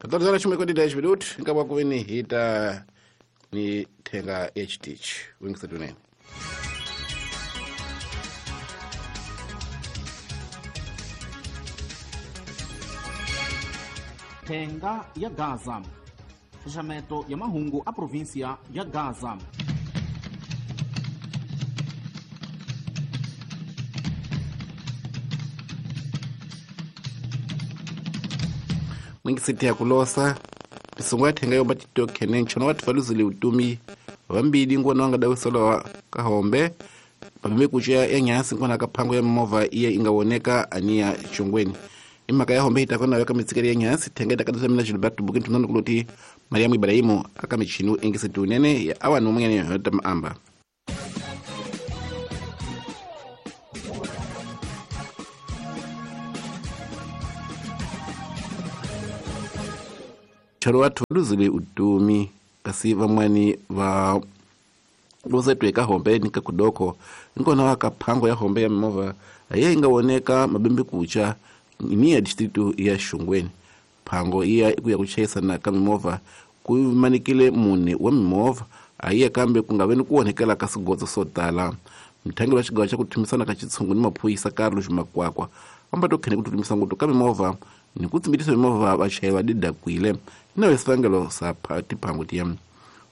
14 horas 10 minutos nkava ku veni hi ta ni thenga ya xitichi wingisetunene. Thenga ya Gaza, xaxameto ya mahungu a provinsia ya Gaza. Mwingisiti ya kulosa misungu ya thenga yomba titokhene nchono watu valuzile utumi vambili ngona wangadawisolowa kahombe pameme kucha ya nyasi ngona kaphango ya movha iye ingawoneka aniya chongweni imhaka ya hombe itakona weka mitsikeli ya nyasi thenga itakadatamina Gilberto Buki nthunano kuloti Mariamu Ibrahimu aka michinu ingisiti unene ya awanu mwene yota maamba. Charo watu luzile utumi kasi vamwani va luzetwe ka hombe nika kudoko nkona wakaphango ya hombe ya mova aye ingawoneka mabembe kucha ni ya distritu ya Shungweni. Phango iya ikuya kuchayisana ka mimova kumanikile mune wa mimova ayiye kambe kungaveni kuonekela ka swigodzo swo tala. Mthangeli wa xigawo xa ku thumisana ka xitshungu ni maphorisa Carlos Makwakwa amba to khene ku thumisana ngopfu ka mimovha ni ku tsimbitisa mimovha vachayeri va didakwile na swivangelo swa tiphangu tiya.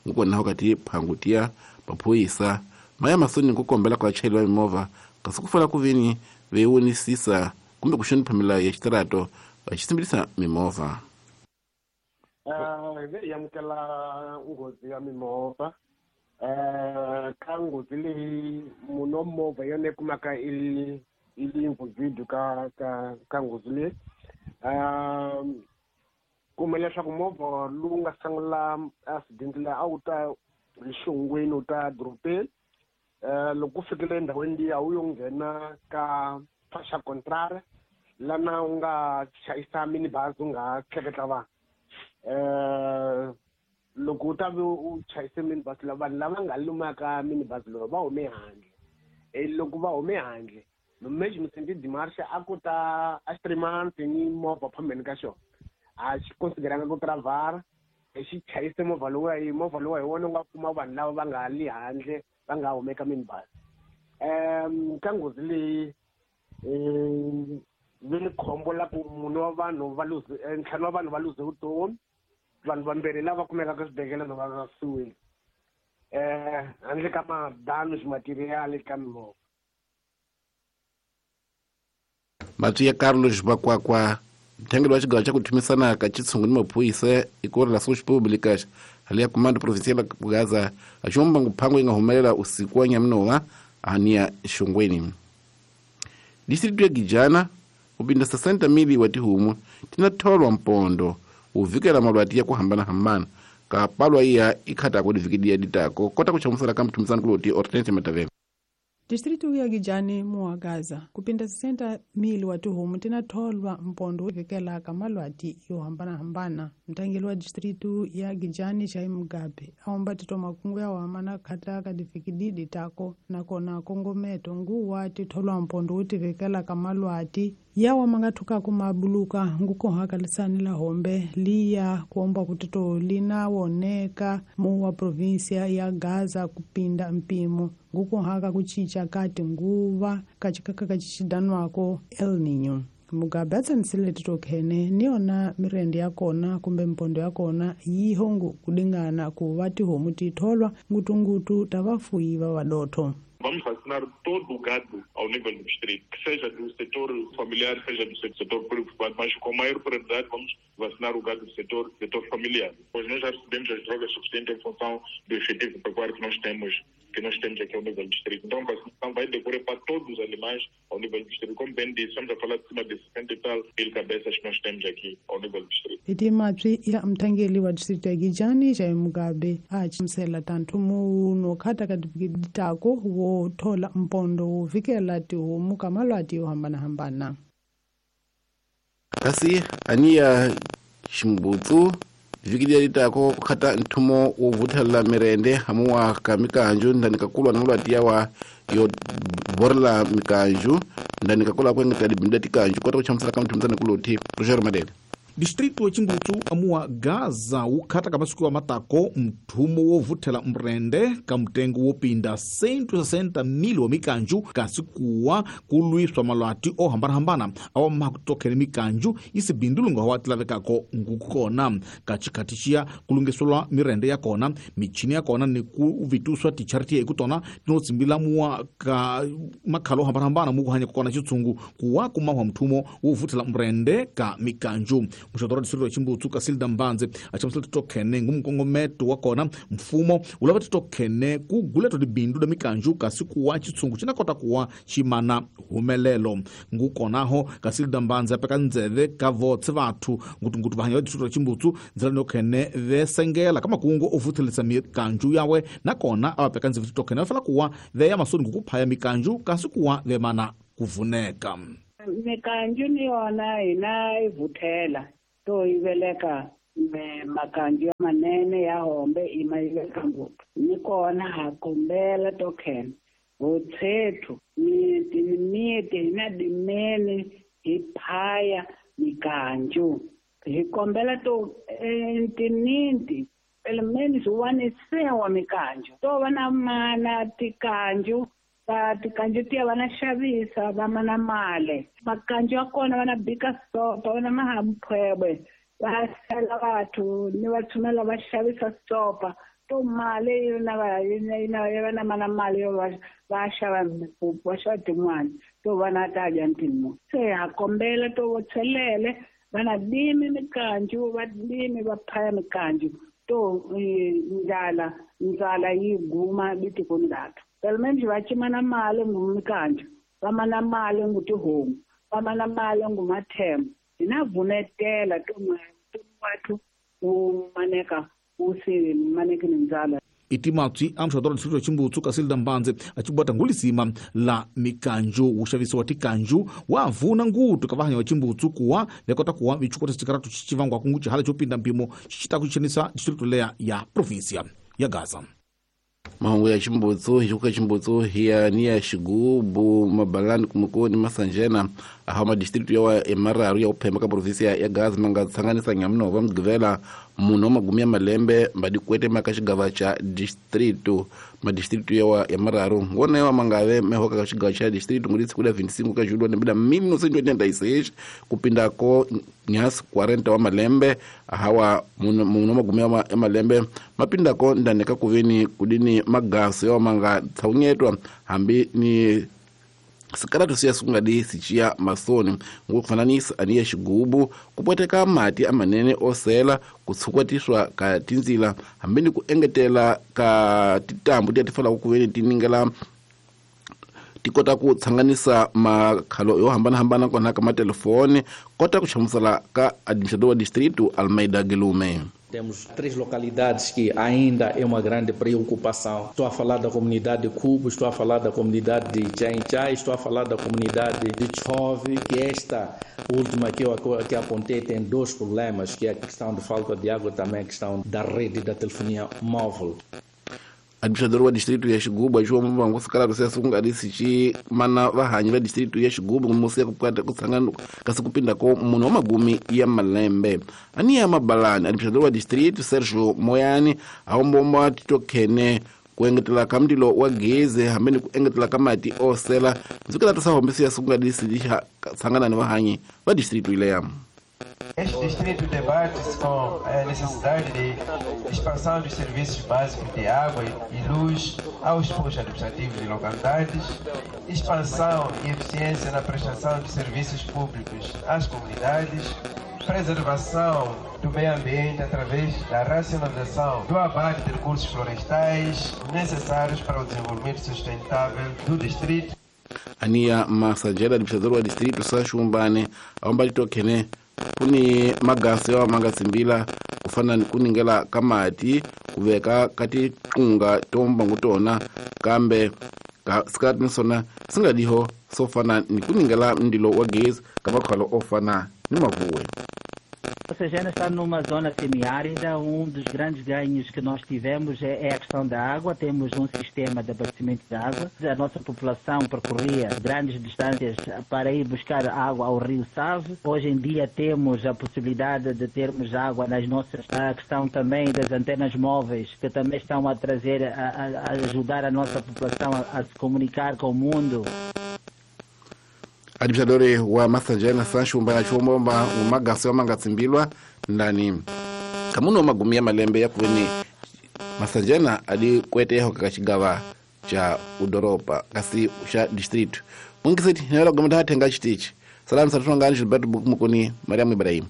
Ngukona ka tiphangu tiya maphorisa maya masoni ku kombela ka vachayeri va mimovha kasi ku fala ku veni vewonisisa kumbe ku xonipha milawu ya xitirato va xitsimbitisa mimovha. Hi amukela nghozi ya mimovha. Ka nghozi leyi munhu wa movha yona yi kumaka i li involved ka nghozi leyi. Kuma leswaku movha lowu nga sungula accident leyi a wu ta hi Xongweni wu ta dorobeni. Loko ku fikile endhawini liya wu yo nghena ka fasha contraire lana u nga chayisa minibus u nga tleketla vanhu. Loko u ta ve u chayise minibus la vanhu lava nga lumaka minibus lowu va hume handle. Loko va hume handle management demarche a ku ta a xitrimanti ni movha phambeni ka xona a xi consideranga ku travara xi chayise movha lowuya hi movha lowu hi wona u nga kuma vanhu lava va nga li handle va nga humeka minibus. Ka nghozi leyi vi ni khombo la ku munhu wa vanhu va luze ntlhanu wa vanhu va luze vutomi, vanhu vambirhi lava kumekaka eswibedhlele va vavisiwile handle ka ma-damage material ka mimovha. Matwi ya Carlos Makwakwa mthangeli wa xigawo xa ku thumisana ka xitshungu ni maphorisa i ku ri la Públicas hali ya Comando Provincial ya Gaza a xomba nguphango yi nga humelela usiku wa nyaminova aniya Xongweni. Distritu ya Gijana kupinda 60,000 wa tihomu tina tholwa mpondo uvikela malwati ya ku hambanahambana ka palwa iya ikhata ku divikidia ditako kota ku chamusela ka mthumisano kuloti Hortense Matavela. Distritu ya Gijani muwa Gaza kupinda 60,000 wa tihomu tina tholwa mpondo uvikela ka malwati yo hambanahambana. Mthangeli wa distritu ya Gijani Jai Mugabe aomba tito makungu ya wamana khata ka divikidi ditako nakona kongometo nguwa titholwa mpondo utivikela ka malwati yawa mangathuka kumabuluka ngukohaka lisani la hombe liya kuomba kutito linawoneka muwa provinsia ya Gaza kupinda mpimo ngukohaka kuchicha kati nguva kachikaka kachichidanwako El Nino. Mugabe atsanisile titokhene niyona mirende yakona kumbe mpondo yakona yihongo kudingana kuva tihomu titholwa ngutungutu tavafuyi va vadotho. Vamos vacinar todo o gado ao nível do distrito, que seja do setor familiar, seja do setor privado, mas com maior prioridade vamos vacinar o gado do setor familiar. Pois nós já recebemos as drogas suficientes em função do efetivo pecuário que nós temos aqui ao nível do distrito. Então a vacinação vai decorrer para todos os animais ao nível do distrito. Como bem disse, estamos a falar de cima de 60 e tal mil cabeças que nós temos aqui ao nível do distrito. Itimatwi ya mthangeli wa distrito ya Gijani Jai Mugabe achimisela tanthu muno khata ka ditako wo thola mpondo wo vikela tihomu ka malwati yo hambanahambana. Kasi aniya ximbutsu vhiki leri tako ku khata nthumo wo vuthelela mirende hamuwa ka mikanju ndani ka kulwa na malwati yawa yo borela mikanju ndani ka kula ku engetela dibindu tikanju kota ku chamusela ka muthumisana kuloti Roger Madele. Distrito wa Chimbutsu amuwa Gaza wukhata ka masiku ya matako mthumo wovuthela mrende ka mutengo wopinda 160,000 wa mikanju kasi kuwa kulwiswa malwati ohambanahambana awa maha kutokhele mikanju isibindulunga wa tilavekako ngukona ka chikhati xiya kulungiselwa mirende ya kona michini ya kona ni kuvituswa tichariti ekutona tinotsimbila muwa ka makhalo ohambanahambana mukuhanya kukona chitsungu kuwa kumahwa mthumo wovuthela mrende ka mikanju. Muxoto wa distrito wa Chimbutsu Casilda Mbanze achamusela titokhene ngumkongometo wa kona mfumo ulava titokhene kuguletwa tibindu da mikanju kasi kuwa chitsungu cinakota kuwa ximana humelelo. Ngukonaho Casilda Mbanze apeka ndzeve ka votse vathu ngutungutu vahanya va distrito wa Chimbutsu ndzela nokhene vesengela ka makungu ovuthelisa mikanju yawe nakona avapeka ndzeve titokhene va fela kuwa veya masoni ngukuphaya mikanju kasi kuwa vemana kuvuneka. Mikanju ni yona hina yi vuthela to yi veleka makanju ya manene ya hombe i ma yi veka ngopfu ni kona ha kombela to khena hotshethu miti ni miti hina dimene hi phaya mikanju hi kombela to ntininti pele swi mikanju to va na mana tikanju va tikanju tiya va na xavisa va mana mali makanju ya kona va na bika sopa va na mahamphwebwe va sela vathu ni va tshumela va xavisa sopa to mali yi na va yi na va na mana mali yo va xava va xava tin'wana to va na ta dya ntimu se ha kombela to vo tshelele va na dimi mikanju va dimi va phaya mikanju to ndlala yi guma bitikoni lathu. Pelo menos va cimana mali ngumikanju va mana mali ngutihomu va mana mali ngumathemba hina vunetela to wathu wu maneka wu si maneki ni ndzala. Itimatswi a muxoto wa distrito wa Chimbutsu Casilda Mbanze acibwata ngulisima la mikanju wuxavisi wa tikanju wa vuna ngutu ka vahanya wa Chimbutsu kuwa vekota kuwa vichukota xikaratu xicivangwaku ngucihala xo pinda mpimo xi ta ku xanisa distrito leya ya provinsia ya Gaza. Mahungu ya Chimbutsu hichuka Chimbutsu hiya ni ya Xigubu Mabalani Kumukoni Masanjena ahawa madistritu yawa emararu ya uphemba ka provinsia ya Gaza manga tsanganisa nyamunova mugivela munhu wa magumi ya malembe mbadikwete maka xigava xa distritu madistritu yawa ya mararu ngona yawa mangave mehoka ka xigava xa distritu ngulitsi kuda 25 ka julho lembe la 1986 kupindako nyasi 40 wa malembe ahawa munhu wa magumi ya malembe mapindako ndani ka kuveni kudini magaso yawa manga tsaunyetwa hambi ni sikaratu siya sungadi sichiya masoni ngokufananisa aniya Xigubu kupweteka mati amanene osela kutsukwatiswa ka tindzila hambi ni ku engetela ka titambu tiya tifalaku kuveni tiningela tikota ku tsanganisa makhalo yo hambanahambana kona ka matelefoni kota ku hlamusela ka administrador wa distrito Almeida Guilherme. Temos 3 localidades que ainda é uma grande preocupação. Estou a falar da comunidade de Cubo, estou a falar da comunidade de Tchainchai, estou a falar da comunidade de Tchove, que esta última que eu que apontei tem 2 problemas, que é a questão de falta de água e também a questão da rede da telefonia móvel. Administrador wa distrito ya Xigubu aciwa mbangu sikaratu siya sungadisi ci mana vahanyi va distrito ya Xigubu musiya kutsangana kasi kupindako munhu wa magumi ya malembe aniya Mabalani administrador wa distrito Sergio Moyani awombomba titokhene ku engetela ka mundilo wa gezi hambi ni ku engetela ka mati osela ndzikela ta hombisi ya sungadisi lixa tsangana ni vahanyi va distrito ileya. Este distrito debate-se com a necessidade de expansão dos serviços básicos de água e luz aos postos administrativos e localidades, expansão e eficiência na prestação de serviços públicos às comunidades, preservação do meio ambiente através da racionalização do abate de recursos florestais necessários para o desenvolvimento sustentável do distrito. Ania Massanjela, administrador do distrito Sachumbane, aomba kuni magasi wa mangatsimbila kufana ni kuningela kamati kuveka kati tunga tomba ngutona kambe ka sikati nisona singadiho sofana ni kuningela ndilo wa gezi kamakhalo ofana ni mavuwe. Messejana está numa zona semiárida. Um dos grandes ganhos que nós tivemos é a questão da água. Temos um sistema de abastecimento de água. A nossa população percorria grandes distâncias para ir buscar água ao rio Save. Hoje em dia temos a possibilidade de termos água nas nossas... A questão também das antenas móveis, que também estão a trazer, a ajudar a nossa população a se comunicar com o mundo. Administrador wa Massangena Sancho Mbana Chombomba umagasi wa mangatsimbilwa ndani kamuno magumi ya malembe ya kuveni Massangena ali kweteho kakachigawa cha udoropa kasi cha district mungisiti nela gomata hatenga chitichi salamu satunga Gilberto Mukuni Mariam Ibrahim.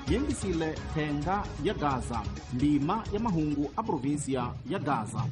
Yengisile thenga ya Gaza, ndima ya mahungu a província ya Gaza.